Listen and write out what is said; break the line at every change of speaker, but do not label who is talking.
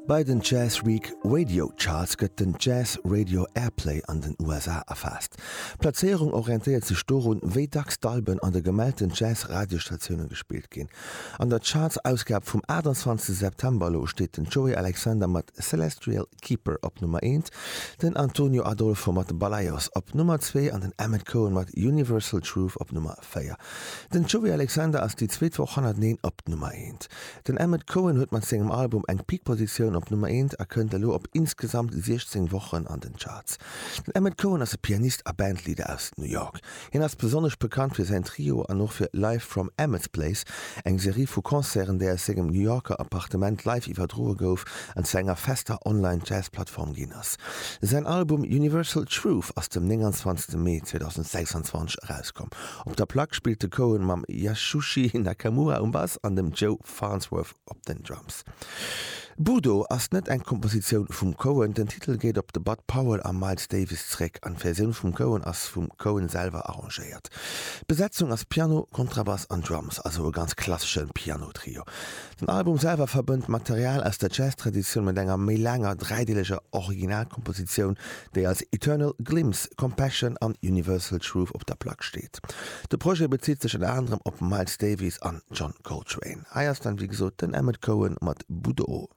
Bei den Jazz Week Radio Charts gëtt den Jazz Radio Airplay an den USA erfaasst. D'Plazéierung orientéiert sech dorun, wéi dacks d'Alben an de gemellten Jazz-Radiosstatioune gespillt ginn. An der Charts-Ausgab vum 28 September elo steet den Joey Alexander mat Celestial Keeper op Nummer eent, den Antonio Adolfo mat Balaios op Nummer zwee an den Emmet Cohen mat Universal Truth op Nummer 4. Den Joey Alexander ass déi zweet Woch hannerteneen op Nummer eent. Den Emmet Cohen huet mat sengem Album eng Peak-Positioun op Nummer eent a kënnt elo op insgesamt 16 Wochen an den Charts. Den Emmet Cohen ass e Pianist a Bandleader aus New York. Hien ass besonnesch bekannt fir säin Trio an och fir Live from Emmet's Place, eng Serie vu Concerten, déi aus sengem New Yorker Appartement live iwwerdroe gouf an zu enger fester Online-Jazz-Plattform ginn ass. Säin Album Universal Truth ass dem 29 Mee 2026 erauskomm. Op der Plack spillt de Cohen mam Yashushi Nakamura um Bass an dem Joe Farnsworth op den Drums. Budo ass net eng Kompositioun vum Cohen, den Titel geet op de Bud Powell a Miles Davis zréck an d'Versioun vum Cohen ass vum Cohen selwer arrangéiert. D'Besetzung ass Piano, Kontrabass an Drums, also e ganz klassesche Piano-Trio. Den Album selwer verbënnt Material aus der Jazz-Traditioun mat enger méi laanger dräideeleger Originalkompositioun, déi als Eternal Glimpse, Compassion an Universal Truth op der Plack steet. De Projet bezitt sech ënner anerem op Miles Davis an John Coltrane. Hei ass dann wéi gesot den Emmet Cohen mat Budo.